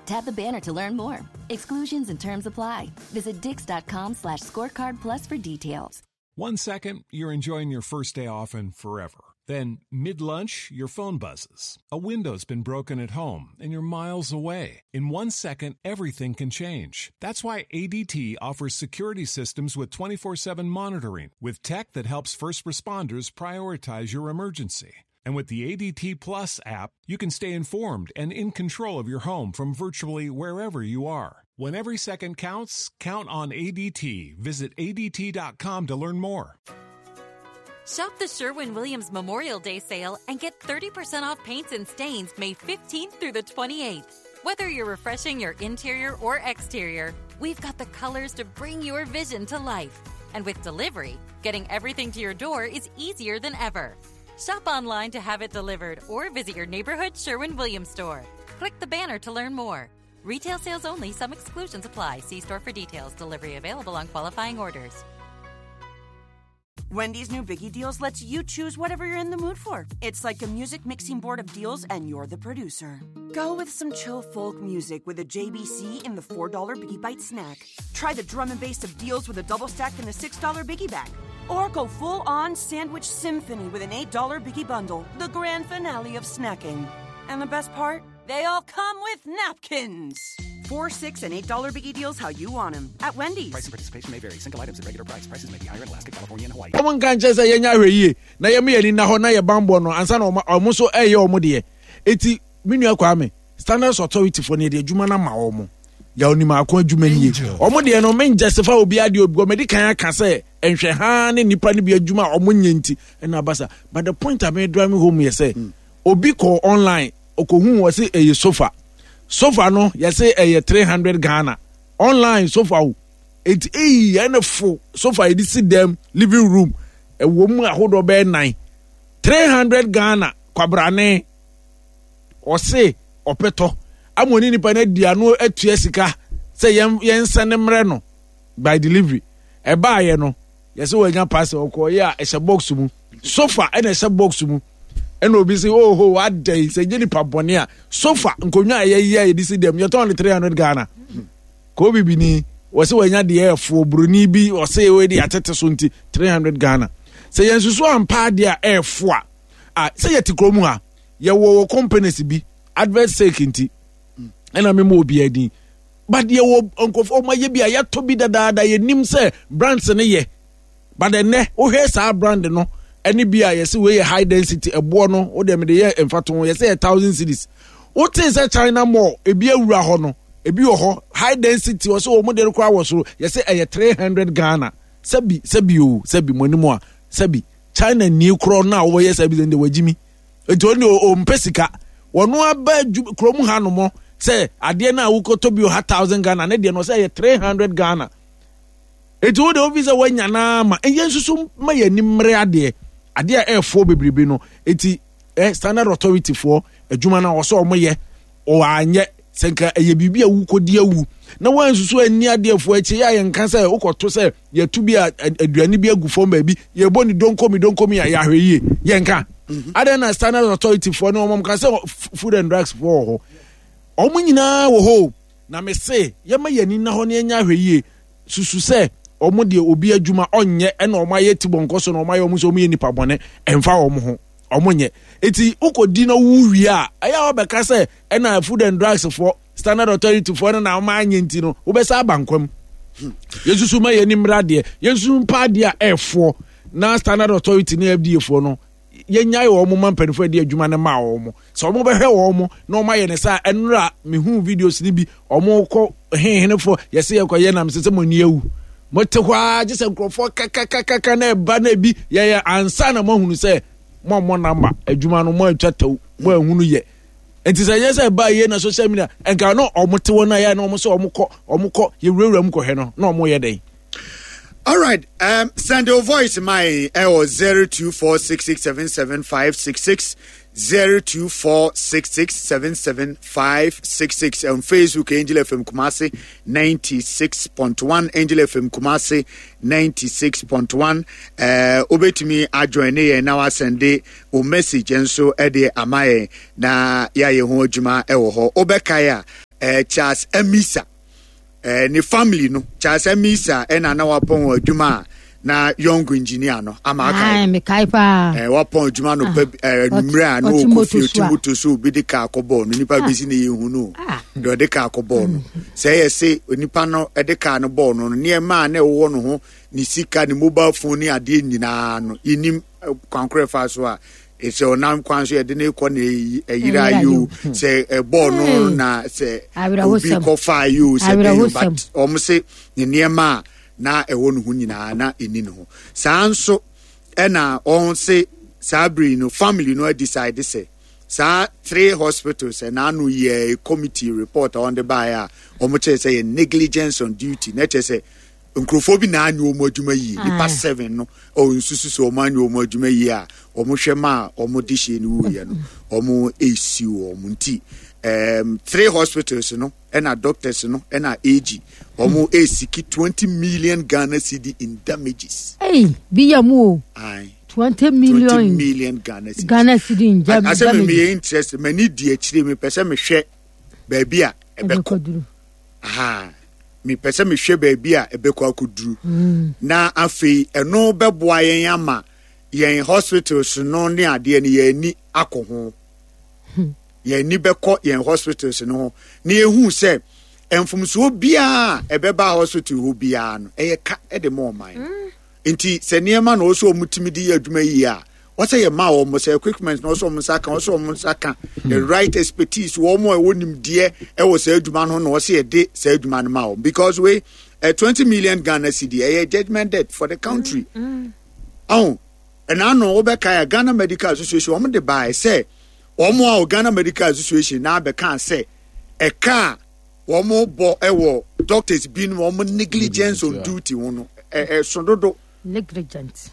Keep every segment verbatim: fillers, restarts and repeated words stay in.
Tap the banner to learn more. Exclusions and terms apply. Visit dix dot com slash scorecard plus for details. One second, you're enjoying your first day off and forever. Then, mid lunch, your phone buzzes. A window's been broken at home and you're miles away. In one second, everything can change. That's why A D T offers security systems with twenty-four seven monitoring, with tech that helps first responders prioritize your emergency. And with the A D T Plus app, you can stay informed and in control of your home from virtually wherever you are. When every second counts, count on A D T. Visit A D T dot com to learn more. Shop the Sherwin Williams Memorial Day sale and get thirty percent off paints and stains May fifteenth through the twenty-eighth. Whether you're refreshing your interior or exterior, we've got the colors to bring your vision to life. And with delivery, getting everything to your door is easier than ever. Shop online to have it delivered or visit your neighborhood Sherwin Williams store. Click the banner to learn more. Retail sales only, some exclusions apply. See store for details. Delivery available on qualifying orders. Wendy's new Biggie Deals lets you choose whatever you're in the mood for. It's like a music mixing board of deals, and you're the producer. Go with some chill folk music with a J B C in the four dollar Biggie Bite snack. Try the drum and bass of deals with a double stack in the six dollar Biggie Bag. Or go full on sandwich symphony with an eight dollar Biggie Bundle, the grand finale of snacking. And the best part? They all come with napkins. Four, six, and eight dollar Biggie Deals, how you want them, at Wendy's. Price and participation may vary. Single items at regular price. Prices may be higher in Alaska, California, and Hawaii. Ɔmo nka nkyɛn sɛ yɛnya ahwɛ yie na yɛma yɛni na hɔ na yɛ bambɔ no ansa na ɔmo ɔmo nso ɛyɛ ɔmo deɛ. Eti me nua Kwame, Standards Authority fo no, yɛde adwuma no ama ɔmo. Yɛ onim ako adwuma nie. Ɔmo deɛ no, men justify obi adeɛ obi ɔmo de kan aka sɛ nhwɛ haa ne nipa no bi adwuma a ɔmo nyɛ nti ɛna abasa. But the point a me drive home yɛ sɛ obi kɔ online, okohu wɔ sɛ ɛyɛ sofa. Sofa no, yɛsɛ ɛyɛ three hundred Ghana online sofa o. Eti eyi ɛne fo sofa yɛde si dɛm living room, ɛwɔ mu ahodoɔ bɛyɛ nnan, three hundred Ghana. Kwabrane ɔse ɔpɛtɔ ama oni nipa no adi ano atua sika sɛ yɛn yɛn nsa ne mmerɛ no by delivery. Ɛbaayɛ no, yɛsɛ wɔanya parcel, ɔkɔɔyɛ a ɛhyɛ box mu. Sofa ɛna ɛhyɛ box mu, ɛna obi sɛ, "Oho, wada yi sɛ nye nipa bɔne a sofa nkonnwa a yɛyɛ a yɛde si dɛm yɛtɔn no three hundred Ghana." Kò bibini wɔsɛ wɔanya deɛ ɛfoɔ buroni bi ɔsɛ ɛwɔ de atete so nti three hundred Ghana. Sɛ yɛn nsusu ampa adeɛ a ɛɛfo a a sɛ yɛte kurom ha, yɛwɔ wɔ companies bi, advert sake nti ɛna mema obiara din, but yɛwɔ nkurɔfoɔ ɔmo ayɛ bi a yɛatɔ bi dadaada, yɛnim sɛ brands no yɛ. But ɛnɛ wohwɛ saa brand no ɛne bi a yɛsɛ wei yɛ high density, ɛboɔ no wode mede yɛ mfato ho, yɛsɛ yɛ thousand cedis. Wote sɛ China Mall ebi awura hɔ no, ebi wɔ hɔ high density, wɔ sɛ wɔn de no koraa wɔ soro, yɛsɛ ɛyɛ three hundred Ghana. Sɛbi sɛbi o, sɛbi mo anim a, sɛbi China nie korɔ no a wɔyɛ sɛbi sɛ ndɛ wɔagyi nti wɔn de ɔmpɛ sika wɔn aba kurom ha nom sɛ adeɛ no a wokɔtɔ bi wɔ ha thousand Ghana ne deɛ no sɛ ɛyɛ three hundred Ghana. Eti wo de ofi sɛ wanya naa ma ɛyɛ nsusu ma yɛ anim mmerɛ adeɛ adeɛ a ɛɛfoɔ bebrebe no. Eti ɛ Standard Authority foɔ adwuma no a wɔsɛ wɔn yɛ, ɔanyɛ sɛ nka ɛyɛ biribi a wukɔdi awu na wɔnsusu ani adeɛfoɔ akyi yɛ a yɛnka sɛ wokɔto sɛ yɛto bi a aduane bi agu fam baabi, yɛbɔ ne donkomi donkomi a yɛahwɛ yie yɛnka mhm. Adan na Standard Authority foɔ ne wɔn ka sɛ Food and Drugs foɔ wɔ hɔ, wɔn nyinaa wɔ hɔ na me se yɛma yɛn ani na hɔ ne yɛnya ahwɛ yie. Susu sɛ wɔn deɛ obi adwuma ɔnyɛ ɛna wɔn ayɛ ti bɔnkɔ so na wɔn ayɛ wɔn sɛ wɔn yɛ nipa bɔne ɛnfa wɔn ho wɔn nyɛ. Eti wokɔdi na wu wie a, ɛyɛ a wɔbɛka sɛ ɛna Food and Drugs foɔ, Standard Authority foɔ no na wɔn anyɛ nti no wobɛsa aba nkwam. Yɛsusu ma yɛn ani mmra adeɛ, yɛnsusu mpa adeɛ a ɛɛfoɔ na Standard Authority ne F D A foɔ no, yɛnyae wɔn ma mpanimfoɔ adi adwuma no ma wɔn sɛ wɔn bɛhwɛ wɔn na wɔn ayɛ ne saa. Ɛnora mehu videos no bi, wɔn kɔ hehenefoɔ, yɛsɛ yɛkɔ yɛ nam sɛ sɛ mo ani awu, mo te hɔ ara gye sɛ nkurɔfoɔ kakakakaka na ɛba na ebi yɛyɛ ansa na mo ahunu sɛ mo a mo namba adwuma no mo atwa tɛw mo ahunu yɛ. Nti sɛ yɛ sɛ ɛba yie na social media nka no ɔmo te hɔ na yɛ na ɔmo sɛ ɔmo kɔ ɔmo kɔ yɛwurawura mu kɔhwɛ no na ɔmo yɛ dɛn. All right. Um, send your voice my uh, zero two four six six seven seven five six six, zero two four six six seven seven five six six on Facebook, Angel F M Kumasi ninety six point one, Angel F M Kumasi ninety six point one. Uh, obetumi ajoin yɛn na wasend o message nso ɛde ama yɛn na yɛayɛ ho adwuma ɛwɔ hɔ. Wobɛkae a, eh, Charles Amissah eh, ne family no. Charles Amissah ɛna na wapɔn adwuma a na young engineer no ama aka. Mekae paa. Eh, wapɔn adwuma no pɛ eh, mmerɛ a na ɔte ɔkɔ moto fie so ɔte a. moto so, obi de kaa kɔbɔɔ no, nipa bɛsi ne yɛhu no. Ah. Deɛ ɔde kaa kɔbɔɔ no, sɛ ɛyɛ se onipa no ɛde kaa no bɔɔ no no nneɛma a na ɛwɔ no ho, ne sika, ne mobile phone ne adeɛ nyinaa no, yɛnim eh, kwan korɔ ɛfa so a eh, sɛ ɔnam kwan so yɛde ne kɔ na ɛyi- ɛyera Ɛyera yi o, yi o. sɛ ɛbɔɔ no Hey. na sɛ obi Awerɛhosɛm. kɔfaa yi o, sɛ dɛn o, but Awerɛhosɛm. ɔmo se ne nneɛma a na ɛwɔ ne ho nyinaa na ɛni ne ho saa nso. Ɛna ɔn se saa bere no family no decide sɛ saa three hospitals ɛna ano yɛ committee report a wɔde baeɛ a wɔn kyerɛ sɛ yɛ negligence on duty, na kyerɛ sɛ nkurɔfoɔ bi na anyɛ wɔn adwuma yie. Nipa Aye. seven no ɔwɔ nsusu sɛ wɔn anyɛ wɔn adwuma yie a wɔn hwɛ ma a wɔn de hyɛ no wuyɛ no, wɔn esi wɔn. Nti um, three hospitals no ɛna doctors no ɛna A G wɔn eseek twenty million Ghana cedi in damages. Ei, bi yɛ mu o. Aye. Twenty twenty million million Ghana cedis. Ghana cedi in jam Asɛ mi mi damages. yɛ interest, m'ani di akyire, mi pɛ sɛ mehwɛ baabi a ɛbɛkɔ. Ɛbɛkɔduru. Aha, mepɛ sɛ mehwɛ baabi a ɛbɛkɔ akɔduru, na afei ɛno bɛboa yɛn ama yɛn hospitals no ne adeɛ no yɛn ani akɔ ho, yɛn ani bɛkɔ yɛn hospitals no ho na yɛhu sɛ mfomsoɔ biara a ɛbɛba hospital hɔ biara no ɛyɛ ka ɛde ma ɔman no. Nti sɛ nneɛma na ɔsɛ ɔmo tumi de yɛ adwuma yie a, wɔsɛ yɛ ma wɔn sɛ equipment na ɔsɛ ɔmo nsa ka, ɔsɛ ɔmo nsa ka the right expertise, wɔn a ɛwɔ nimdeɛ ɛwɔ saa adwuma no na ɔsɛ yɛde saa adwuma no ma wɔn, because wei ɛ twenty million Ghana cedi ɛyɛ judgement debt for the country. Ɔn ɛna ano wɔbɛka yɛ Ghana Medical Association, wɔn de baa sɛ wɔn a wɔ Ghana Medical Association na abɛka sɛ ɛka a wɔn bɔ ɛwɔ doctors binom wɔn negligence on duty ho no ɛ ɛso dodo. Negligent.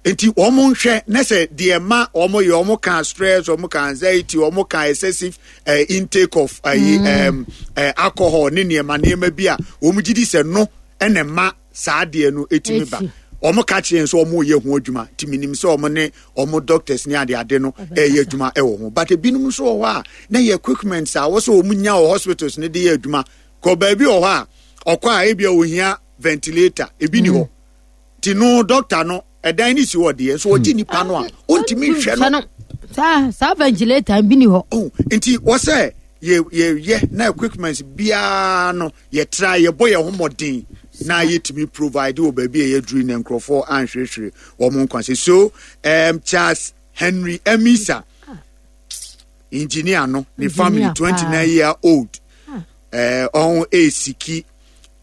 Nti wɔn nhwɛ ne sɛ deɛ ma wɔn yɛ, wɔn ka stress, wɔn ka anxiety, wɔn ka excessive uh, intake of uh, mm. um, uh, alcohol ne nneɛma nneɛma bi a wɔn gyi di sɛ no ɛna ma saa adeɛ no etimi ba. Eti. Wɔn ka kyerɛ nso wɔn yɛ ho adwuma, nti minim sɛ wɔn ne wɔn doctors ne ade ade no ɛyɛ adwuma ɛwɔ ho, but ebinom nso wɔ hɔ a na yɛ equipment a wɔsɛ wɔn nya wɔ hospitals ne de yɛ adwuma kɔ baabi wɔ hɔ a ɔkɔ a ebi a ohia ventilator, ebi ni hɔ, ti no doctor no ɛdan ne si hɔ deɛ nso wɔgye nipa no a ɔntumi nhwɛ no. Saa saa ventilator bi ni hɔ. Oh, nti wɔsɛ yɛ yɛyɛ na equipment biara no yɛtra yɛbɔ yɛn ho mmɔden na yɛtumi provide wɔ baabi a yɛduru na nkurɔfoɔ anhwehwere wɔn nkwa sɛ so. um, Charles Henry Amissah, engineer no ne family, Engineer twenty paa. nine year old, ɛɛ ɔn eseek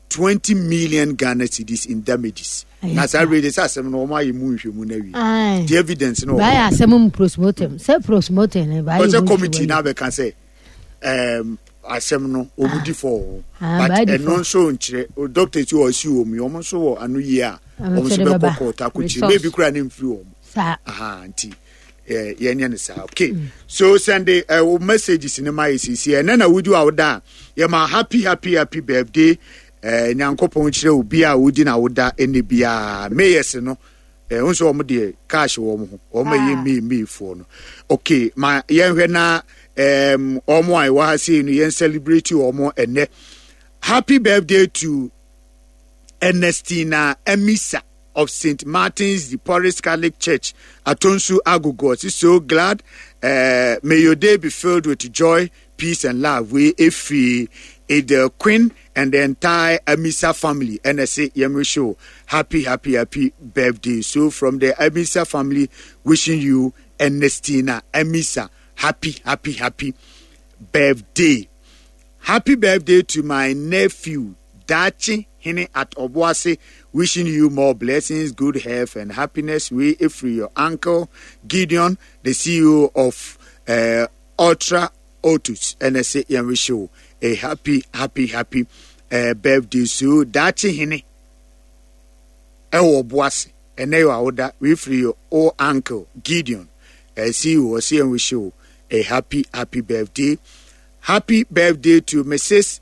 twenty million Ghana cedis in damages. Ɛyɛ Na saa saa. rede sɛ asɛm no wɔn ayɛ mu nhwɛmu na wie Aye. the evidence no wɔ hɔ. Baayɛ asɛm mu postmortem sɛ postmortem ne baayɛ ɔsɛ mu committee nhwɛmu. na abɛka sɛ um, asɛm no wɔn di fɔ wɔn, Ah, but baayɛ di ɛno fɔ. nso nkyerɛ o doctors yi wɔ ɔsi wɔn yi, wɔn nso wɔ ano yie a Wɔn wɔn nso nso de bɛkɔ bɛba. court akɔkyerɛ Resource. maybe kura ne nfiri wɔn. Saa. Aha, nti eh, yɛnyɛ no saa. Okay, so send the uh, wo messages ne ma yɛ sisi ɛnɛ na wodi a woda a yɛma happy happy happy birthday. eh, Nyankopɔn kyerɛ obi a wodi na woda ɛnɛ biara mayors no eh, wo nso wɔn deɛ cash wɔ wɔn ho, wɔn a ɛyɛ may mayfoɔ no. Okay, ma yɛnhwɛ na um, wɔn a ɛwɔ ha sei no yɛn celebrate wɔn ɛnɛ. Happy birthday to Ernestina Amissah of Saint Martin's de Porres Catholic Church, Atonsu Agogo. She's so glad. Uh, may your day be filled with joy, peace, and love. We if the Queen and the entire Amissah family, and I say, show happy, happy, happy birthday. So from the Amissah family, wishing you Ernestina Amissah happy, happy, happy birthday. Happy birthday to my nephew, Dachi Hene at Obuasi, wishing you more blessings, good health, and happiness. We, if your uncle Gideon, the C E O of uh, Ultra Otus, and I say, wish you a happy, happy, happy uh, birthday. So, Dachi Hene, ɛwɔ Obuasi, ɛnɛ yɛ awoda, we free your old uncle Gideon, uh, C E O, C N wish you a happy, happy birthday. Happy birthday to Missus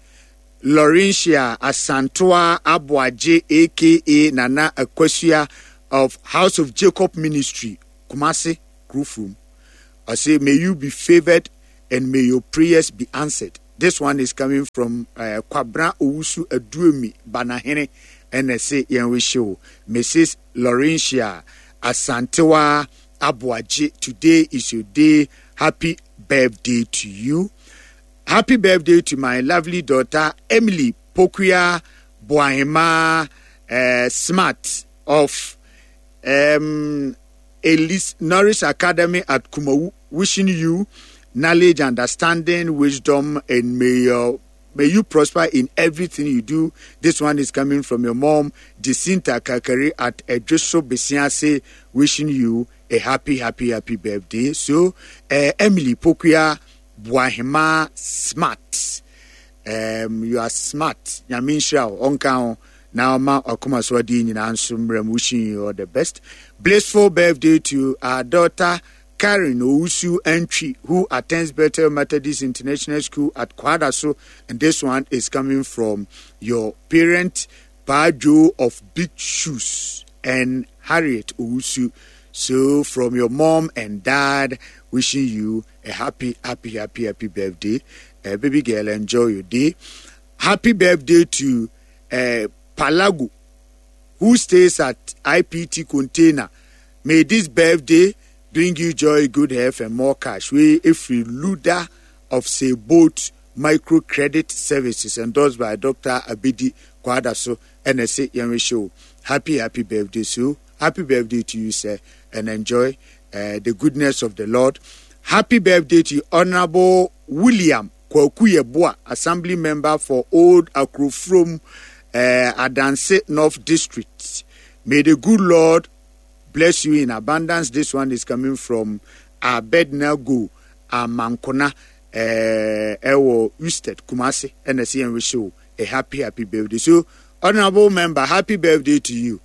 Laurentia Asantoa Aboagye, A K A Nana Akosua of House of Jacob Ministry, Kumasi, Krufum. I say, may you be favored and may your prayers be answered. This one is coming from uh, Kwabra Owusu Aduomi Banahene ɛna ɛsɛ yɛn wish wo Missus Laurentia Asantewa Aboagye. Today is your day. Happy birthday to you. Happy birthday to my lovely daughter Emily Pokuya Boahema uh, Smart of um, Elise Norris Academy at Kumawu. Wishing you knowledge, understanding, wisdom, and may your may you prosper in everything you do. This one is coming from your mom, Jacinta Kakari at Edriso Besiase, wishing you a happy, happy, happy birthday. So, uh, Emily Pokuya Boahema Smart. Um, you are smart. Nyame nhyira wo, ɔnka ho na ɔma ɔkoma so adi nyinaa nso mmerɛ mu. Wishing you all the best. Blissful birthday to our daughter Karen Owusu Entry, who attends Bethel Methodist International School at Kwadaso, and this one is coming from your parent, Bajo of Big Shoes, and Harriet Owusu. So, from your mom and dad, wishing you a happy, happy, happy, happy birthday. Uh, baby girl, enjoy your day. Happy birthday to uh, Palago, who stays at I P T Container. May this birthday bring you joy, good health, and more cash. We, if we Luda of Seboat Microcredit Services, endorsed by Doctor Abidi Kwadaso, N S A Yenwe Show. Happy, happy birthday, so happy birthday to you, sir, and enjoy, uh, the goodness of the Lord. Happy birthday to Honorable William Kwaku Yeboah, Assembly Member for Old Akrofrom, uh, Adanse North District. May the good Lord bless you in abundance. This one is coming from Abednego Amankona, eh, Ewo Usted, Kumasi, N S C N Show. A happy, happy birthday. So, Honorable Member, happy birthday to you.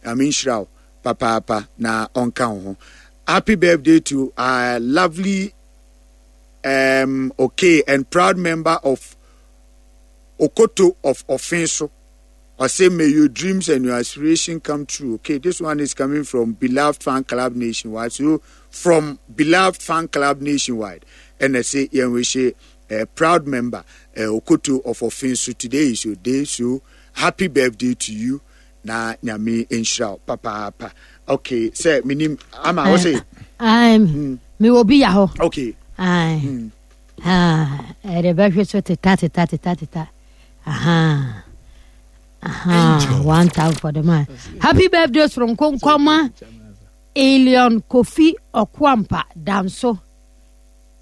I mean, Shrao, Papa, Papa, na onka ho. Happy birthday to our lovely, um, okay, and proud member of Okoto of Ofenso. I say, may your dreams and your aspiration come true. Okay, this one is coming from Beloved Fan Club Nationwide. So, from Beloved Fan Club Nationwide. And I say, yeah, we say, a proud member, uh, Okoto of Ofenso. Today is your day, so happy birthday to you. Na nyame nhyira papa papa. Okay, say me nim ama wo say. I'm me will be ya ho. Okay. I ah, e de be hwe so teta teta teta teta. Aha. Aha, one time for the man. Happy birthday from Konkoma Elion Kofi Okwampa Danso.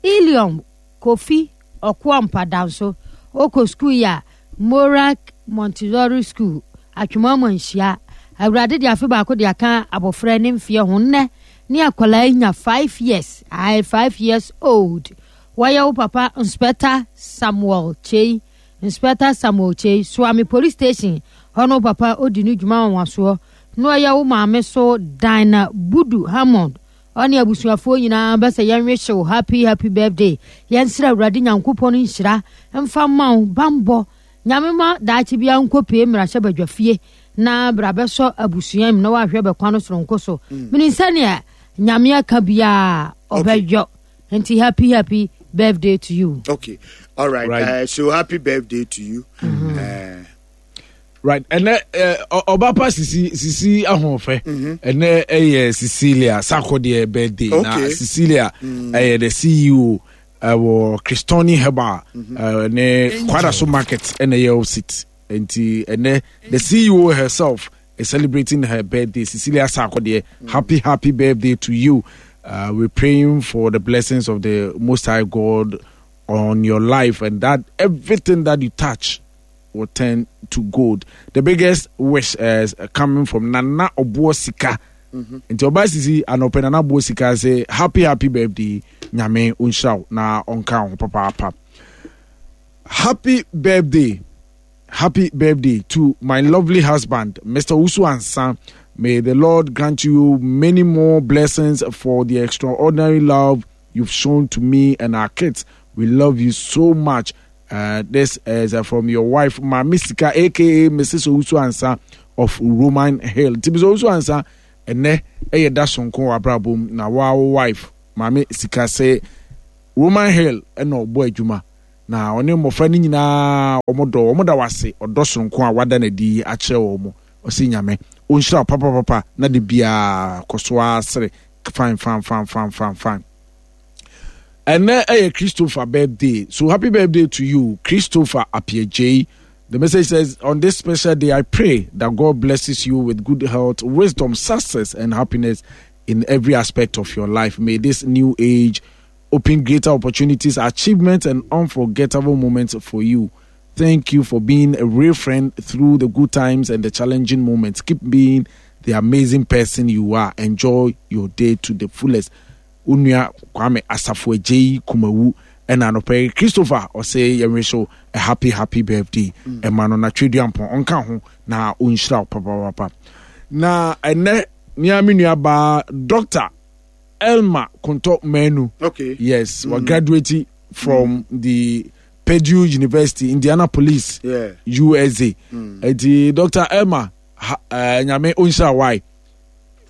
Elion Kofi Okwampa Danso. Oko school ya Morak Montessori School. Atwuma nhyia. Awurade de afe baako de aka abofra ne mfie ho nne ne akwala nya five years. I five years old. Waya wo papa Inspector Samuel Chey. Inspector Samuel Chey Swami Police Station. Hono papa odi nu dwuma wanwaso. No ya wo maame so Dina Budu Hammond. Oni abusuafo nyina ba se yenwe hyew happy happy birthday. Yensira Awurade Nyankopɔn nhyira mfa ma wo bambɔ. Nyame ma daachi bia nkopie mmra hye badwafie na bra bɛsɔ abusuam na wahwɛ bɛkwa no soronko so. Mini nsane nyame aka bia obɛdwo. Nti happy happy birthday to you. Okay. All right. Right. Uh, so happy birthday to you. Mm-hmm. Uh, right. And uh, Obapa Sisi Sisi Ahonfe. And uh, Cecilia Sarkodie birthday. Okay. Na Cecilia mm. uh, the C E O uh, Christoni Heba mm-hmm. uh, ne Kwadaso Market and the seat. And the C E O herself is celebrating her birthday. Cecilia Sarkodie, mm. happy, happy birthday to you. Uh, we're praying for the blessings of the Most High God on your life, and that everything that you touch will turn to gold. The biggest wish is coming from Nana Obuosika. Mm-hmm. Nti oba sisi anope Nana Obuosika say happy, happy birthday. Nyame unshao na onka ho papa papa. Happy birthday. Happy birthday to my lovely husband, Mister Usu Ansan. May the Lord grant you many more blessings for the extraordinary love you've shown to me and our kids. We love you so much. Uh, this is uh, from your wife, Mamisika, aka Missus Owusu Ansa of Roman Hill. Tibi Owusu Ansa, ene eye da sonko abrabom na wa wife, Mami Sika say Roman Hill eno obo adwuma. Na ɔne mmɔfra no nyinaa wɔn dɔ wɔn da wase ɔdɔ soronko a wada n'adi akyerɛ wɔn. Ɔsi Nyame ɔnhyira papapapa na de biara kɔ so asere fine fine fine fine fine fine. Ɛnɛ ɛyɛ Christopher birthday, so happy birthday to you, Christopher Appiagyei. The message says, on this special day, I pray that God blesses you with good health, wisdom, success, and happiness in every aspect of your life. May this new age open greater opportunities, achievements, and unforgettable moments for you. Thank you for being a real friend through the good times and the challenging moments. Keep being the amazing person you are. Enjoy your day to the fullest. Onua Kwame Asafo Agyei Kumawu ɛna anɔpɛ yi Christopher ɔsɛ yɛnwe so a happy happy birthday ɛma no na Tweduampɔn ɔnka ho na ɔnhyira wo papapapa. Na ɛnɛ nea me nua baa Doctor Elma Konto Manu. Okay. Yes, mm. we graduated from mm. the Purdue University, Indianapolis, yeah. U S A. Mm. Eti Doctor Elma, uh, Nyame ɔnhyira why.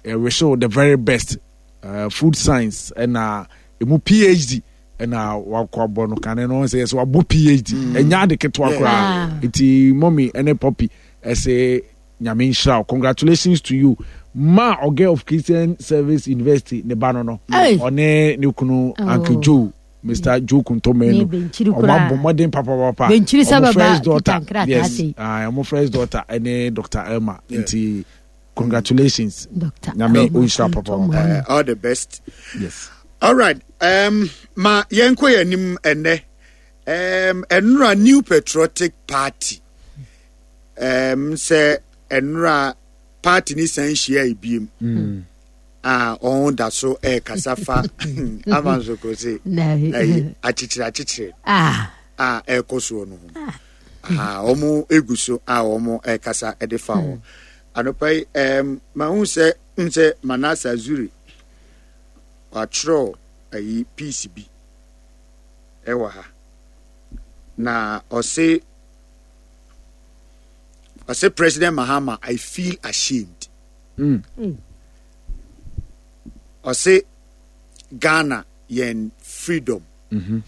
Uh, we show the very best. Uh, food science and uh, emu P H D and uh, wakɔ abɔ no kane no sɛ yɛsɛ wabɔ P H D ɛnya ade ketewa koraa. Eti mommy ɛne Poppy ɛsɛ Nyame nhyira. Congratulations to you. Ma Oge of Christian Service University ne ba no no. Ɔne ne kunu Uncle Joe, Mister Joe Kuntomenu. Ɔmo abɔ mmɔden papa papa. Ɔmo first daughter. Yes. Ɔmo first daughter ɛne Doctor Elma. Nti congratulations, Doctor Nyame onhyira papa. Uh, all the best. Yes. All right. Um, ma yɛnkɔ yɛn anim ɛnɛ. Um, ɛnora New Patriotic Party. Um, sɛ ɛnora party ni san hyia ebiem. Mm. A ɔn da so ɛkasa fa ama nso ko se ɛyi akyekyere akyekyere. Ah. A ɛkɔ soɔ no ho. Ah, ɔmo egu so a ɔmo ɛkasa ɛde fa ho. Anɔpa yi, um, mahu sɛ sɛ Manasseh Azure watwerɛ ayi piece bi ɛwɔ ha. Na ɔse ɔse President Mahama, I feel ashamed. Mm. Ɔse Ghana yɛn freedom. Mm-hmm.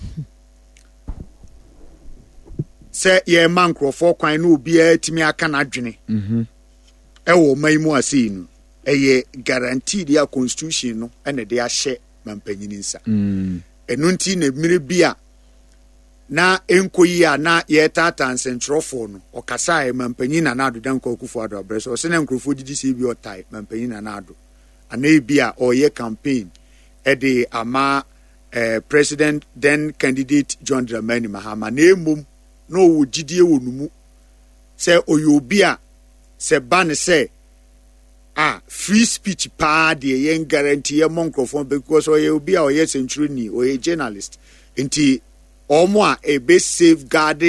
Sɛ yɛn ma nkurɔfoɔ kwan na obiara tumi aka n'adwene. Mm-hmm. Ɛwɔ ɔman yi mu ase yi no, ɛyɛ guaranteed a constitution no ɛna de ahyɛ mampanyini nsa. Mm. Ɛno nti na mmere bi a na enko yi a na yɛtaataa nsɛnkyerɛwfoɔ no, ɔkasae mampanyin Nana Addo Dankwa Akufo-Addo abrɛ so, ɔsɛ na nkurɔfoɔ didi sɛ ebi ɔtae mampanyin Nana Addo anaa ebi a ɔyɛ campaign ɛde ama eh, president then candidate John Dramani Mahama, na emom na ɔwɔ gyidie wɔ ne mu sɛ ɔyɛ obi a sɛ ba ne sɛ a free speech paa deɛ yɛn guarantee yɛn mɔ nkurɔfoɔ because ɔyɛ obi a ɔyɛ sɛnkyerɛni, ɔyɛ journalist, nti ɔmo a ebe safeguard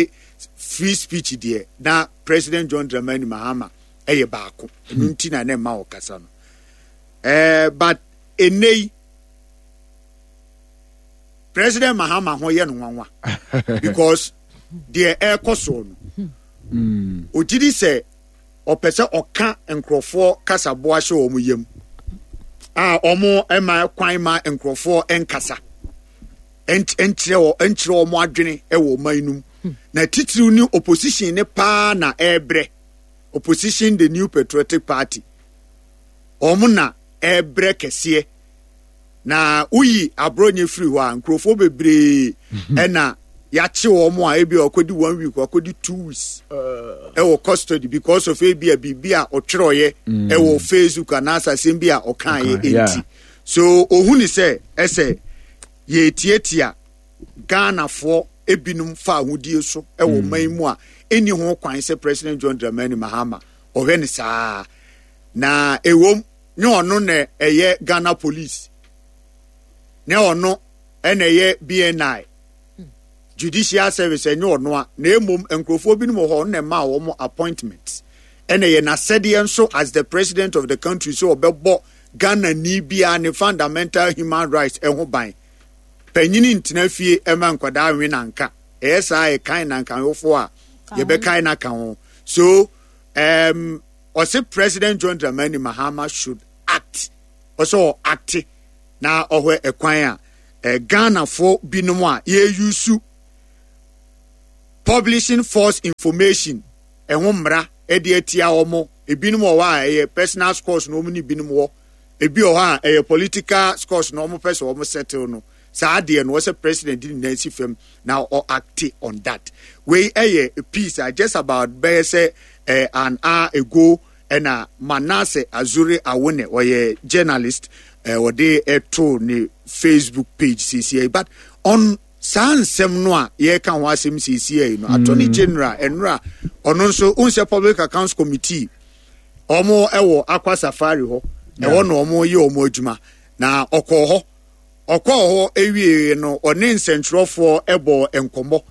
free speech deɛ na President John Dramani Mahama ɛyɛ baako. Ɛno nti na ne mma ɔkasa no. Eh, but enei President Mahama ho yɛ no nwanwa because deɛ ɛrekɔ soɔ no ogyidi sɛ ɔpɛ sɛ ɔka nkurɔfoɔ kasaboa hyɛ wɔn yam a wɔn ma kwan ma nkurɔfoɔ nkasa nkyerɛ nkyerɛ wɔn adwene wɔ ɔman no mu. Na titiriw ne opposition ne paa na ɛrebrɛ. Opposition, the New Patriotic Party, wɔn na ɛrebrɛ kɛseɛ. Na woyi aborɔnyɛ firi hɔ a nkurɔfoɔ bebree ɛna yɛakye wɔn a ebi a ɔkɔdi one week, ɔkɔdi two weeks ɛwɔ custody because of ebi a biribi a ɔtwerɛeɛ ɛwɔ Facebook anaasɛ asɛm bi a ɔkaeɛ enti. So ohun sɛ ɛsɛ yɛtiatia Ghanafoɔ ebinom fa ahodie so ɛwɔ man mu a ɛnni ho kwan sɛ President John Dramani Mahama ɔhwɛ ne saa. Na ewom ne ɔno na ɛyɛ Ghana Police, ne ɔno ɛna ɛyɛ B N I, Judicial Service ɛnyɛ ɔno a, na emom nkurɔfoɔ binom wɔ hɔ ɔno na ɛma wɔn appointment. Ɛna ɛyɛ n'asɛdeɛ nso as the president of the country sɛ ɔbɛbɔ Ghana ni biara ne fundamental human rights ɛho ban. Panyini ntena fie ɛma nkwadaa nwe nanka. Ɛyɛ saa ɛkan nankanwofoɔ a yɛbɛkan n'aka ho. So um, ɔse President John Dramani Mahama should act. Ɔsɛ ɔ act na ɔhwɛ ɛkwan a, eh, Ghanafoɔ binom a yɛyusu Publishing false information ɛho mmara ɛde atia wɔn. Ebinom wɔ hɔ a ɛyɛ personal scores na wɔn ne binom wɔ, ebi wɔ hɔ a ɛyɛ political scores na wɔn pɛ sɛ wɔn settle no. Saa adeɛ no, wɔsɛ president di ne nan si fam na ɔ act on that. Wei ɛyɛ piece a just about bɛyɛ sɛ eh, an hour ago ɛna Manasseh Azure Awone, ɔyɛ journalist, eh, ɔde ɛto ne Facebook page siesie. But on saa nsɛm no a yɛreka ho asɛm siesie yi no, Attorney General ɛnora ɔno nso n sɛ Public Accounts Committee ɔmo ɛwɔ Aqua Safari hɔ, ɛhɔ na ɔmo yɛ ɔmo adwuma, na ɔkɔɔ hɔ ɔkɔɔ hɔ ewie no, ɔne nsɛntwerɛfoɔ ɛbɔ nkɔmmɔ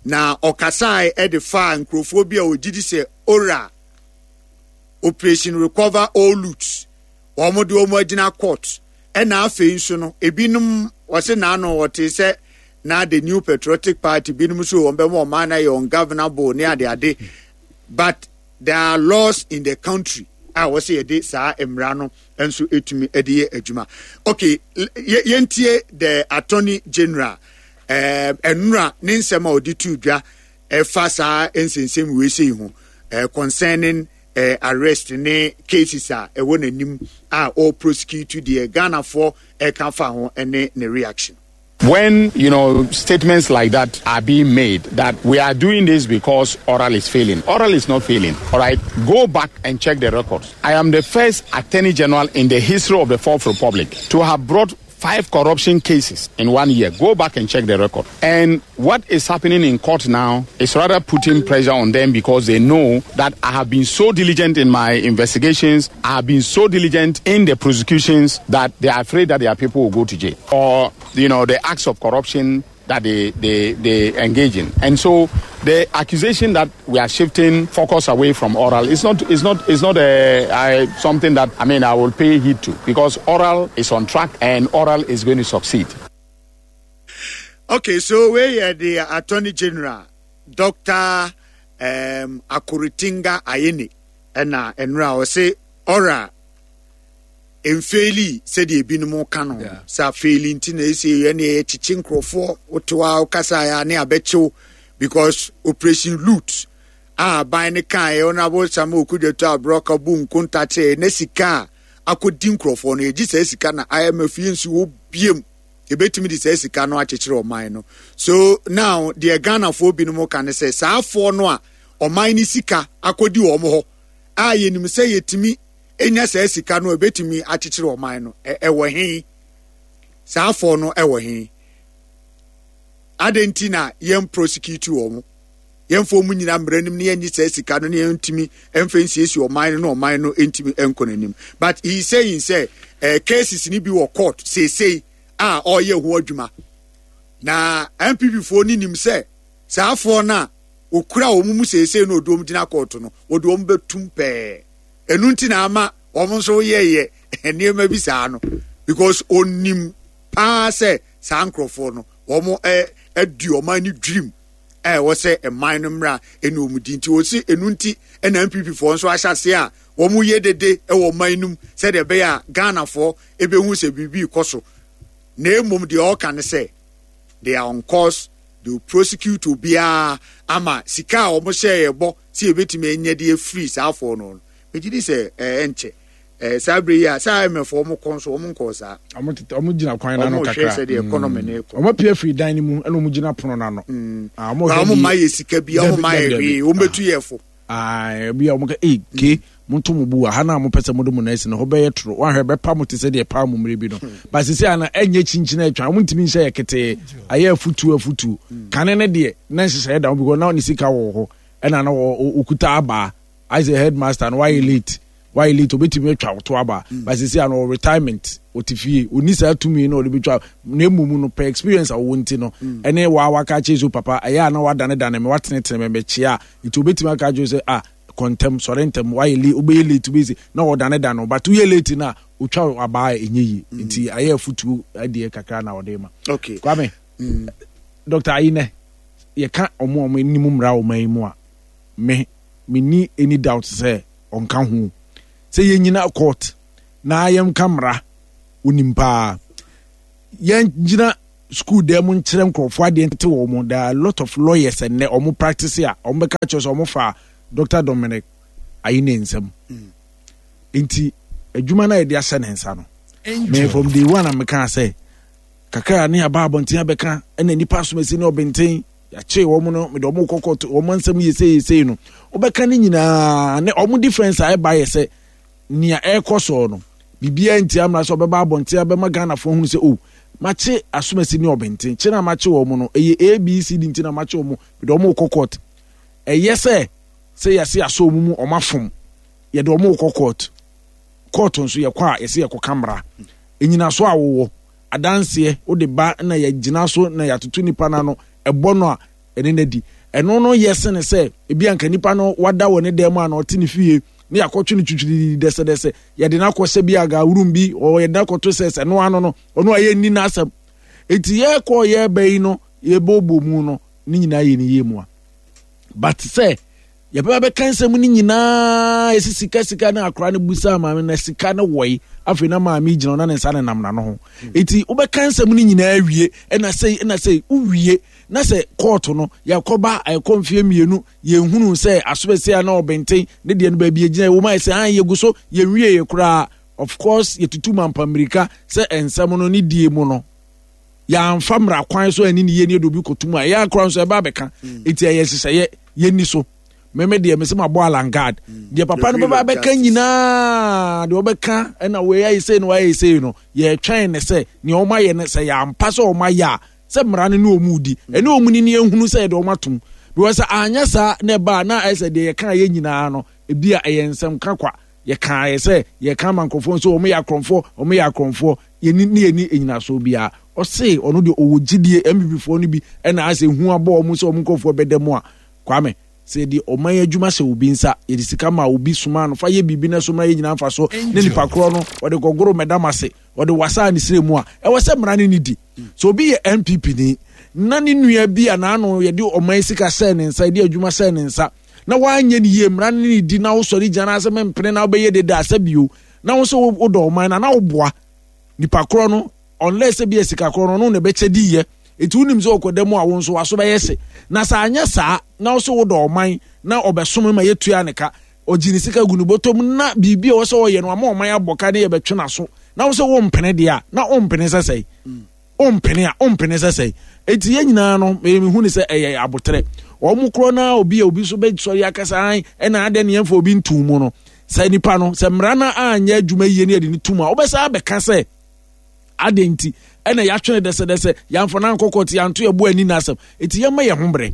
na ɔkasae ɛde faa nkurɔfoɔ bi a ogyi di sɛ ORAL, Operation Recover All Loot, wɔn de wɔn agyina court. Ɛna afei nso no, ebinom wɔsi n'ano wɔte sɛ na the New Patriotic Party binom nso wɔn bɛma ɔman na yɛ ungovernable ne adeade, but there are laws in the country a wɔsi yɛde saa mmara no nso etumi de yɛ adwuma. Okay, yɛntie the Attorney General ɛɛ ɛnura ne nsɛm a ɔde tu dwa ɛfa saa nsɛnsɛm wei sei ho, ɛɛ concerning ɛɛ arrest ne cases a ɛwɔ n'anim a ɔreprosecute, deɛ Ghanafoɔ ɛka fa ho ɛne ne reaction. When, you know, statements like that are being made that we are doing this because ORAL is failing. ORAL is not failing. All right. Go back and check the records. I am the first Attorney General in the history of the Fourth Republic to have brought five corruption cases in one year. Go back and check the record. And what is happening in court now is rather putting pressure on them because they know that I have been so diligent in my investigations, I have been so diligent in the prosecutions that they are afraid that their people will go to jail or, you know, the acts of corruption that they, they, they engage in. And so the accusation that we are shifting focus away from ORAL is not, is not, is not a, a, something that, I mean, I will pay heed to, because ORAL is on track and ORAL is going to succeed. Okay, so we are the Attorney General, Doctor Um, Akuritinga Ayine, ɛna ɛnura ɔse ORAL mfail sɛdeɛ ebinom ka no sɛ afail, nti na esi ɛne yɛkyekye nkurɔfoɔ wote hɔ a wokasa a ne abɛkyew because Operation Loot a aban ne kaeɛ, Honourable Samuel Okudzeto Ablakwa bu nkonta kyerɛ na sika a akɔdi nkurɔfoɔ no, yɛgye saa sika na I M F yi nso wɔ biem, yɛbɛtumi de saa sika no akyekyere ɔman no. So now deɛ Ghanafoɔ binom ka ne sɛ saa afoɔ no a ɔman no sika akɔdi wɔn hɔ a yɛnim sɛ yɛtumi enya saa sika no a ebetumi akyekyere ɔman no, ɛwɔ he? Saa afɔ no ɛwɔ he? Adɛn nti na yɛn prosecute wɔn, yɛmfa wɔn nyina mmara nim ne yɛnyi saa sika no ne yɛntumi mfa nsiesie ɔman no na ɔman no ntumi nkɔ n'anim? But he is saying sɛ eh, cases ni bi wɔ court seesei a ɔreyɛ ho adwuma na N P P foɔ no nim sɛ saa afoɔ no a okura wɔn mu seesei no, ɔde wɔn gyina court no, wɔde wɔn bɛtum pɛɛ. Ɛnu nti na ama wɔn nso yɛyɛ nneɛma bi saa no, because onim paa sɛ saa nkurɔfoɔ no wɔn ɛ adi wɔn ani dwirim a ɛwɔ sɛ ɛman no mmra ɛne wɔn di. Nti wɔsi ɛnu nti ɛna N P P foɔ nso ahyɛ ase a wɔn yɛ dede ɛwɔ ɔman no mu sɛdeɛ ɛbɛyɛ a Ghanafoɔ ɛbɛhu sɛ biribi kɔ so. Na emom deɛ ɔka ne sɛ they are on course, they will prosecute obiara ama sika a wɔn hyɛ yɛ bɔ sɛ yɛbɛtumi anya de afiri saa afɔ no no Megye di sɛ ɛɛ nkyɛ ɛɛ saa bere yi a saa I M F wɔn kɔ nso, wɔn nkɔɔ saa. Ɔmo tete, ɔmo gyina kwan n'ano Wɔn kakra. hwɛ sɛdeɛ economy no kɔ. Ɔmo apue afiri dan no mu ɛna ɔmo gyina pono n'ano. Ah, ɔmo Ba hwɛ wɔn deɛ- ma yɛ sika bi, wɔn Dabi, ma yɛ dabi, hwee, dabi. wɔn bɛtu yɛ fo. Ah, ebi a ɔmo ka ee ke monto mo bu a ha na mo pɛ sɛ mode mo nan si no hɔ bɛyɛ toro, wahwɛ bɛpa mo te sɛ deɛ paa mo mmerɛ bi no ba. Sisi ana ɛnyɛ kyinkyin atwa, ɔmo ntumi nhyɛ yɛ ketee, ayɛ afutuo afutuo. Kane ne deɛ na nhyehyɛeɛ da ho because na ne sika wɔ hɔ ɛna na ɔkuta abaa ayɛ sɛ headmaster no, wayɛ late, wayɛ late, obetumi atwa woto aba. Ba sisi ano wɔ retirement, ɔte fie, oni saa tumi na ɔde betwa. Na emu no pɛ experience a wɔwɔ nti no ɛne waa waka akyerɛ so papa ɛyɛ a na wadanedane me, watenetene me mɛkyia, nti obetumi aka akyerɛ sɛ ah, kɔntɛm, sɔre ntɛm, wayɛ late, wobɛyɛ late, wobɛyɛ se na ɔdanedane o, but woyɛ late na otwa abaa a ɛnyɛ yie. Nti ayɛ afutuo adeɛ kakra na ɔde ma. Okay kwame mm. Doctor Ayine, yɛka ɔmo a ɔmo anim mmara ɔman yi mu a, me menni any doubt sɛ ɔnka ho sɛ yɛnyina court na yɛnka mmara, onim paa. Yɛngyina School dan mu nkyerɛ nkurɔfoɔ adeɛ nte wɔn mo. There are a lot of lawyers ɛnnɛ ɔmo practice a ɔmo bɛka kyerɛ sɛ ɔmo fa Doctor Dominic Ayine nsam. Nti adwuma no a yɛde ahyɛ ne nsa no, me from day one a meka sɛ kakra ne aba abɔnten abɛka ɛna nipa asomasi ne ɔbɛnten yɛakye wɔn no, mede wɔn kɔ kɔɔto, wɔn nsɛm yɛ sei sei no, wobɛka ne nyinaa ne wɔn difference a ɛba yɛ sɛ nea ɛrekɔ soɔ no, biribiara nti amena sɛ ɔbɛba abɔnten abɛma Ghanafoɔ hunu sɛ, oh, makye asomasi ne ɔbɛnten, kye na makye wɔn no, ɛyɛ A B C D nti na makye wɔn, mede wɔn kɔ court. Ɛyɛ sɛ sɛ yɛse asɔ wɔn mu, wɔn afom, yɛde wɔn kɔ court. Court nso yɛkɔ a, yɛse yɛkɔka mmara enyinaso a wowɔ adanseɛ wode ba na yɛgyina so na yɛatoto nipa no ano ɛbɔ no a ɛne no adi. Ɛno no yɛ sene sɛ ebi anka nipa no wada wɔ ne dan mu a na ɔte ne fie ne yɛakɔtwe no twitwiridi dɛsɛdɛsɛ, yɛde no akɔhyɛ bi aga room bi ɔ yɛde no akɔto sɛ sɛ no ano no ɔno a yɛnni n'asɛm. Eti yɛkɔ yɛba yi no, yɛbɔbɔ mu no ne nyinaa yɛ ne yie mu a, but sɛ yɛbɛba bɛka nsɛm no nyinaa, yɛsi sika sika na akora no busa maame na sika no wɔyi, afei na maame gyina na ne nsa nenam n'ano ho. Eti wobɛka nsɛm no nyinaa wie, ɛna sɛi ɛna sɛi wowie na sɛ kɔɔto no yɛkɔba, ɛkɔ mfeɛ mmienu, yɛnhunu sɛ asobɛsɛ a na ɔbɛnten ne deɛ no baabi egyina wɔn ayɛ sɛ an yɛgu so yɛnwie yɛ koraa. Of course, yɛtutu mampamirika sɛ nsɛm no ne die mu no, yɛamfa mmara kwan so ani ne yie ne yɛde obi kɔtum a ɛyɛ akora nso ɛba abɛka. Eti ɛyɛ nhyehyɛeɛ yɛnni so. Mɛmɛ deɛ mɛsɛ ma bɔ alangard deɛ papa no bɛba abɛka nyinaa deɛ ɔbɛka ɛna wei ayɛ sei na wayɛ sei no, yɛtwɛn ne sɛ nea ɔmo ayɛ no sɛ yɛampa sɛ ɔmo ayɛ a, sɛ mmara no ne ɔmo di ɛne ɔmo ni ne ehunu sɛ yɛde ɔmo atom, because anyɛ saa na ɛba a na ayɛ sɛ deɛ yɛka yɛ nyinaa no, ebi a ɛyɛ nsɛm ka kwa. Yɛka yɛ sɛ yɛka ama nkurɔfoɔ nso ɔmo yɛ akorɔmfoɔ, ɔmo yɛ akorɔmfoɔ, yɛni ne yɛni enyinasoɔ biara. Ɔse ɔno deɛ ɔwɔ gyidie N P P foɔ no bi ɛna asɛ hu abɔ ɔmo sɛ ɔmo nkurɔfoɔ bɛda mu a. Kwame, sɛ yɛde ɔman adwuma hyɛ obi nsa, yɛde sika ma obi soma no fa yɛ biribi na so ma yɛ nyinaa mfa so ne nipa korɔ no ɔde kɔgoro mɛdam ase, ɔde wasa ne sire mu a, ɛwɔ sɛ mmara ne ne di. Sɛ obi yɛ N P P ni na ne nua bi a n'ano yɛde ɔman sika hyɛ ne nsa, yɛde adwuma hyɛ ne nsa na wanyɛ ne yie, mmara ne ne di na wosɔre gyina na asɛ mempene na wobɛyɛ deda asɛ bio na wo sɛ wodɔ ɔman na na woboa nipa korɔ no, unless sɛ bi yɛ sika korɔ no ɔno na ɛbɛkyɛ di yɛ. Eti wonim sɛ ɔkɔda mu a, wo nso waso bɛyɛ se na sɛ anyɛ saa na wo sɛ wodɔ ɔman na ɔbɛsom ma yɛtua ne ka, ɔgye ne sika gu ne bɔtɔm na biribi a ɛwɔ sɛ ɔyɛ no ama ɔman abɔ ka ne yɛbɛtwe n'aso na wo sɛ wompene deɛ a, na wompene sɛ sɛe, wompene a wompene sɛ sɛe. Eti yɛn nyinaa no, mehu ne sɛ ɛyɛ abotrɛ wɔn korɔ na obi a obi nso bɛsɔre akasa an ɛna adɛ ne yɛmfa obi ntum mu no, sɛ nipa no sɛ mmara no anyɛ adwuma yie ne yɛde ne tum a, wobɛsa abɛka sɛ adɛ nti ɛna yɛatwene dɛsɛdɛsɛ, yɛamfa no ankɔ kɔɔte, yɛanto yɛbo ani n'asɛm. Eti yɛmma yɛn ho berɛ.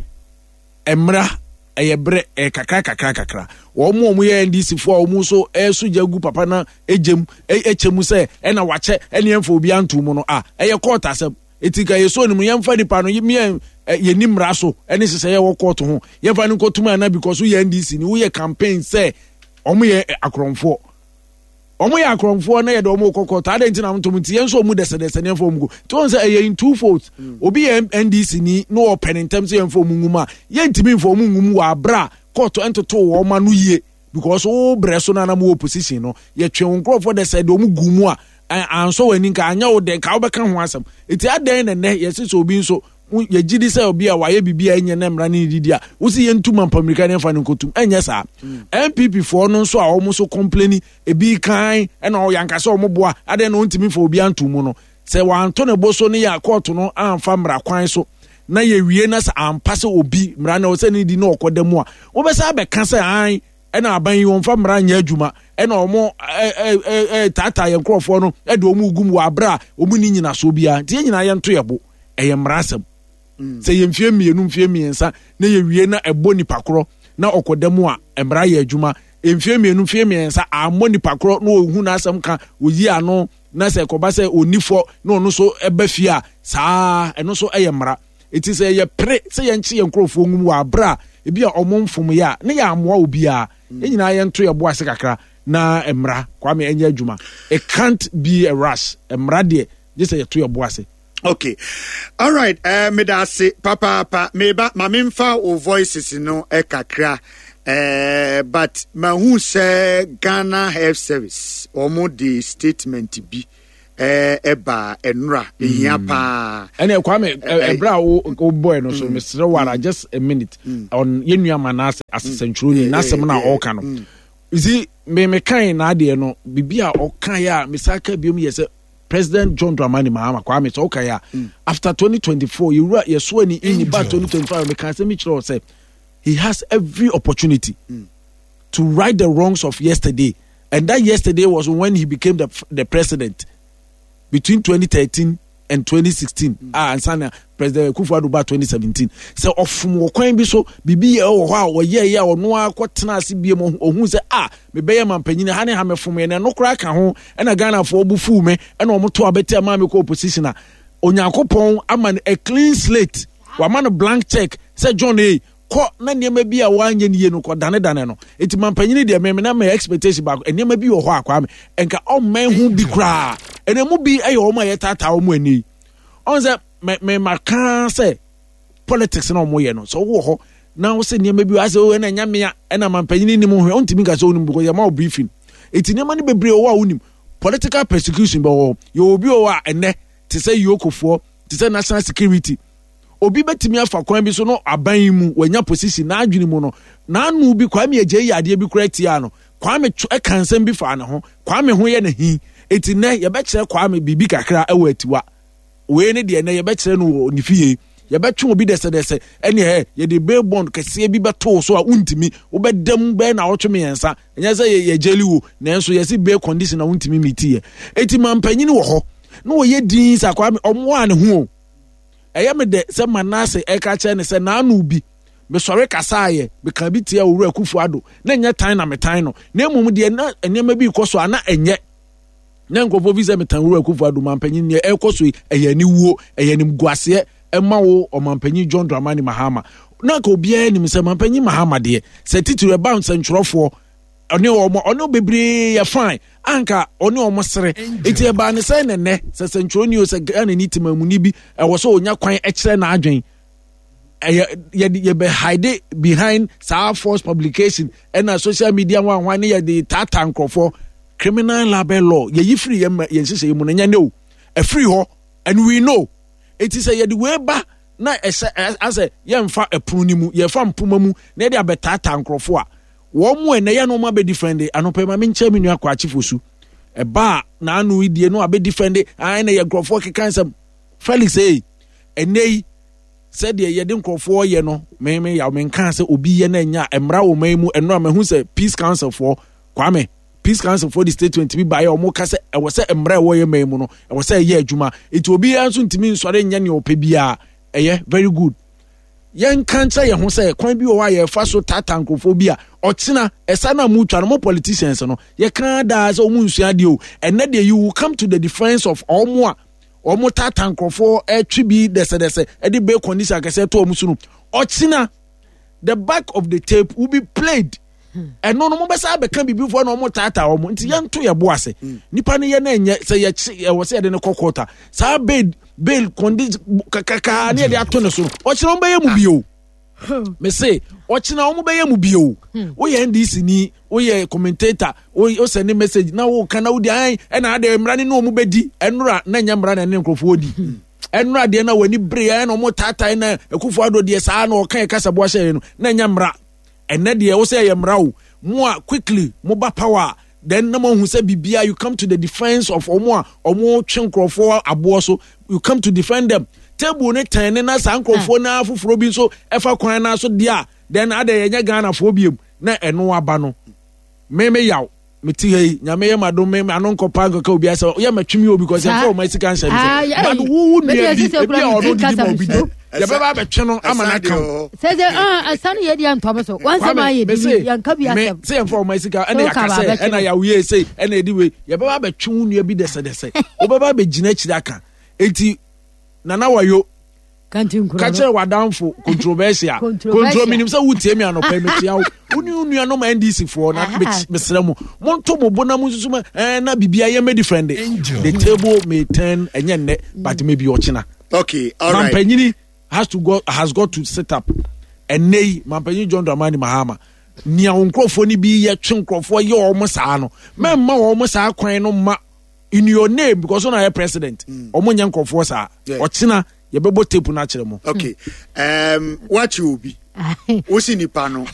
Mmara ɛyɛ berɛ, ɛyɛ kakra kakra kakra. Wɔn mu a wɔn yɛ N D C foɔ a wɔn nso ɛso gya gu papa na ɛgyem ɛkyɛ mu sɛ ɛna wakyɛ ɛne yɛmfa obi anto mu no a, ɛyɛ kɔɔte asɛm. Eti nka yɛsɔ ne mu, yɛmfa nipa no yɛn yɛni mmara so ɛne hyehyɛ yɛwɔ kɔɔto ho, yɛmfa no nkɔtum ana because woyɛ N D C ni, woyɛ campaign sɛ wɔn yɛ akorɔmfoɔ, wɔn yɛ akorɔmfoɔ na yɛde wɔn kɔ kɔɔto adan nti na ntom nti yɛn nso wɔn dɛsɛdɛsɛ ne yɛmfa wɔn gu. Nti wɔn sɛ ɛyɛ in two folds. Obi yɛ N D C ni na ɔpɛ ne ntɛm sɛ yɛmfa wɔn ngu mu a, yɛntumi mfa wɔn ngu mu wɔ abira kɔɔto ntoto wɔn ano yie, because wo brɛ so na anam wɔ opposition no, yɛtwe wɔn nkurɔfoɔ dɛsɛ de wɔn gu mu a ansɔ wɔn ani, nka anyɛ wo dɛ nka wobɛka ho asɛm. Eti adan na nnɛ yɛsi sɛ obi nso yɛgye di sɛ obi a wayɛ biribi a ɛnyɛ ne mmara ne ne didi a wosi yɛntum ampamirika ne yɛmfa no nkotum, ɛnyɛ saa. N P P foɔ no nso a wɔn nso complain ebi kan ɛna ɔyɛ ankasa wɔn boa adan na wɔntumi fa obi anto mu no, sɛ wanto ne bo so ne yɛ kɔɔto no amfa mmara kwan so na yɛwie na sɛ ampa sɛ obi mmara na ɔsɛ ne di na ɔkɔda mu a, wobɛsɛ abɛka sɛ an ɛna aban yi wɔmfa mmara nyɛ adwuma, ɛna wɔn ɛ ɛ ɛ taataa yɛn nkurɔfoɔ no ɛde wɔn gu mu wɔ abere a wɔn ni nyinasoɔ biara. Nti yɛn nyinaa yɛnto yɛ bo, ɛyɛ mmara asɛm. Sɛ yɛ mfie mmienu, mfie mmiɛnsa na yɛwie na ɛbɔ nipa korɔ na ɔkɔda mu a, mmara yɛ adwuma. Mfie mmienu, mfie mmiɛnsa ammɔ nipa korɔ na ɔhu n'asɛm ka oyi ano na sɛ ɛkɔba sɛ ɔni fɔ na ɔno nso ɛba fie a, saa ɛno nso ɛyɛ mmara. Eti sɛ yɛ pere sɛ yɛnkye yɛn nkurɔfoɔ ngum wɔ abere a ebi a ɔmo mfom yɛ a, ne yɛ amoa obiara. Yɛn nyinaa yɛnto yɛ bo ase kakra na mmara, Kwame, ɛnyɛ adwuma. It can't be a rush. Mmara deɛ, gye sɛ yɛto yɛ bo ase. Okay, all right, uh, meda ase papaapa. Meba ma memfa wo voices no eh, kakra, uh, but mahu sɛ Ghana Health Service wɔn de statement bi ɛba ɛnura ehia paa. Ɛnna Kwame ɛbrɛ a wo bɔɛ no so, mesrɛ wara, just a minute on yɛn nua Manasseh asesɛntwerɛni n'asɛm na ɔreka no. You see, me me kan n'adeɛ no, bibi a ɔka yɛ a mesa ka biom yɛ sɛ President John Dramani Mahama, Kwame, sɛ ɔka yɛ a, after twenty twenty-four yɛwura yɛso ani in ba twenty twenty-five, meka asɛm bi kyerɛ wɔ sɛ he has every opportunity mm. to right the wrongs of yesterday, and that yesterday was when he became the, the president between twenty thirteen and twenty sixteen. mm. Ah, ansa na President Akufo-Addo ba twenty seventeen, sɛ ɔfom wɔ kwan bi so, biribi yɛ wɔ hɔ a ɔyɛ yɛ a ɔno akɔ tena ase bie mu, ohun sɛ ah, mebɛyɛ mampanyin ha ne ha, mɛfom yɛ na ɛno koraa ka ho ɛna Ghanafoɔ bu fuu me ɛna ɔmo to abɛte ama me kɔ opposition a, Onyankopɔn ama no a clean slate, wama no blank check sɛ John a kɔ na nneɛma bi a wanyɛ ne yie no kɔ danedane no. Eti mampanyini deɛ, mɛmɛ na mɛ expectation baako, nneɛma bi wɔ hɔ a Kwame nka ɔmmɛn ho bi koraa, ɛna mu bi yɛ wɔn a yɛtaataa wɔn ani ɔn sɛ mɛ mɛ maka sɛ politics na wɔn yɛ no, sɛ wɔwɔ hɔ na wɔsɛ nneɛma bi asɛ ɔwɔ ɛna nyamea ɛna mampanyini nim ho, ɔntumi nka sɛ ɔnim because yɛ ma wɔ briefing. Eti nneɛma no bebree wɔ a wɔnim political persecution bɛ wɔ yɛ obi wɔ hɔ a ɛnɛ te sɛ yokofoɔ, te sɛ national security, obi bɛtumi afa kwan bi so no, aban yi mu wanya position n'adwene mu no n'ano bi Kwame Agye yi adeɛ bi kora tia no, Kwame ɛka nsɛm bi fa ne ho, Kwame ho yɛ ne hi. Eti nnɛ yɛbɛkyerɛ Kwame biribi kakra ɛwɔ Atiwa wei ne deɛ, nnɛ yɛbɛkyerɛ no wɔ ne fie, yɛbɛtwe obi dɛsɛdɛsɛ ɛne ɛ yɛde bail bond kɛseɛ bi bɛtoo so a wontumi wobɛdam bɛyɛ na ɔtwe mmiɛnsa. Ɛnyɛ sɛ yɛ gyeli wo, nanso yɛsi bail condition na wontumi miti yɛ. Eti mampanyini wɔ hɔ na wɔyɛ din sɛ Kwame ɔmoa ne ho o, ɛyɛ me dɛ sɛ Manasseh ɛka kyerɛ ne sɛ n'ano bi mesɔre kasaayɛ meka bi tia Owura Akufo Addo na ɛnyɛ tan na metan no, na mmom deɛ na nneɛma bi kɔ so a na ɛnyɛ na nkurɔfoɔ fi sɛ metan Owura Akufo Addo. Mampanyin, deɛ ɛkɔ so yi ɛyɛ aniwuo, ɛyɛ animguaseɛ ɛma wo ɔmampanyin John Dramani Mahama, na nka obiara nim sɛ mampanyin Mahama deɛ, sɛ titiri ɛba nsɛntwerɛfoɔ ɔne wɔn, ɔne bebree yɛ fine, anka ɔne wɔn sere. Eti ɛbaa ne sɛ nɛnɛ sɛ sɛntwerɛni o, sɛ Ghana ni temamuni bi ɛwɔ sɛ onya kwan ɛkyerɛ n'adwen, ɛyɛ yɛde yɛbɛ hide behind saa false publication ɛna social media nwanwan ne yɛde taataa nkurɔfoɔ. Criminal libel law yɛyi firi yɛn yɛn nhyehyɛ yi mu no, nyɛ ne o, ɛfiri hɔ and we know. Eti sɛ yɛde wei ba na ɛsɛ asɛ yɛnfa ɛpono ne mu, yɛfa mpoma mu na yɛde abɛtaataa nkurɔfoɔ a wɔn mu ɛnɛ yɛn no wɔn abɛ defend anɔpɛ ma menkyɛn mi nua kɔ akyifo su ɛba a n'ano yi die no abɛ defend ayi na yɛ nkurɔfoɔ keka nsɛm Felix ee ɛnɛ yi sɛdeɛ yɛde nkurɔfoɔ yɛ no, mɛmɛ yaw menka sɛ obi yɛ na nya mmara wɔ man mu. Ɛno a mahu sɛ Peace Council foɔ, Kwame, Peace Council foɔ de statement bi baeɛ a wɔn ka sɛ ɛwɔ sɛ mmara ɛwɔ yɛ man mu no ɛwɔ sɛ ɛyɛ adwuma, nti obiara nso ntumi nsɔre nyɛ nea ɔpɛ biara. Ɛyɛ very good. Yɛnka nkyerɛ yɛn ho sɛ kwan bi wɔ hɔ a yɛfa so tata nkurɔfoɔ bi a ɔkyena ɛsa no a mutwa no, mo politicians no, yɛka daa sɛ ɔmo nsua adeɛ o. Ɛnɛ deɛ you will come to the defence of ɔmo a ɔmo tata nkurɔfoɔ, ɛtwe bi dɛsɛdɛsɛ, ɛde bail condition akɛseɛ to ɔmo so no. Ɔkyena the back of the tape will be played. Ɛno no mobɛsa abɛka biribifoɔ na ɔmo taataa ɔmo, nti yɛnto yɛ bo ase. Nipa no yɛ no ɛnyɛ sɛ yɛkye, ɛwɔ sɛ yɛde no kɔ court a saa bail bail condition kakrakaa ne yɛde ato ne so no, ɔkyena ɔmo bɛyɛ mu bio. Mese ɔkyena ɔmo bɛyɛ mu bio. Woyɛ N D C ni, woyɛ commentator, wosɛ ne message na woka na wodi ayi ɛna ade mmara ne ne ɔmo bɛdi ɛnora na nyɛ mmara na ɛne nkurɔfoɔ di ɛnora deɛ na w'ani bere ɛna ɔmo taataa na Akufo Addo deɛ saa na ɔka yɛ kasaboa hyɛ no na nyɛ mmara. Ɛnɛ deɛ wo sɛ ɛyɛ mmara o, mo a quickly mo ba power then na mo ahu sɛ bibia, you come to the defence of ɔmo a ɔmo twe nkurɔfoɔ aboɔ so, you come to defend them. Table ne tɛn ne na saa nkurɔfoɔ na foforɔ bi nso ɛfa kwan na so deɛ a, then adɛ yɛnyɛ Ghanafoɔ biem na ɛno aba no. Me me yaw mete ha yi, Nyame yɛ ma dom me ano nkɔpa nkɔka obi asɛ yɛ matwe mi o, because yɛmfa ɔma sika nhyɛ me sɛ, but wo wo nua bi ebi a ɔno didi ma obi di, yɛbɛba abɛtwe no ama no aka wo. Sɛ sɛ ɛsane yɛ deɛ ntɔm so wansɛm ayɛ bi yɛnka bi asɛm. Sɛ yɛmfa ɔma sika ɛna yɛaka sɛ ɛna yɛawoyɛ sei ɛna yɛde wei, yɛbɛba abɛtwe wo nua bi dɛsɛdɛsɛ, wobɛba abɛgyina akyiri aka. Enti Nana Wayo ka kyerɛ w'adamfo controversial contro, menim sɛ wotie me anɔpɛ, mekyia wo, wo ne wo nuanom N D C foɔ na mesrɛ mo, monto mo bo na monsusu ma eh, na biribia yɛmmɛ different. The table may turn, ɛnyɛ nnɛ but maybe ɔkyena. Okay, all right. Mampanyini has to go, has got to sit up. Ɛnnɛ yi Mampanyin John Dramani Mahama, nea wo nkurɔfoɔ no bi yɛ twe nkurɔfoɔ yɛ wɔn saa no, mɛmma wɔn saa kwan no ma In your name, because ɔna yɛ president, ɔmo nyɛ nkurɔfoɔ saa. Ɔkyena yɛbɛbɔ tape no akyerɛ mo. Okay, um, wakye obi, wosi nipa no.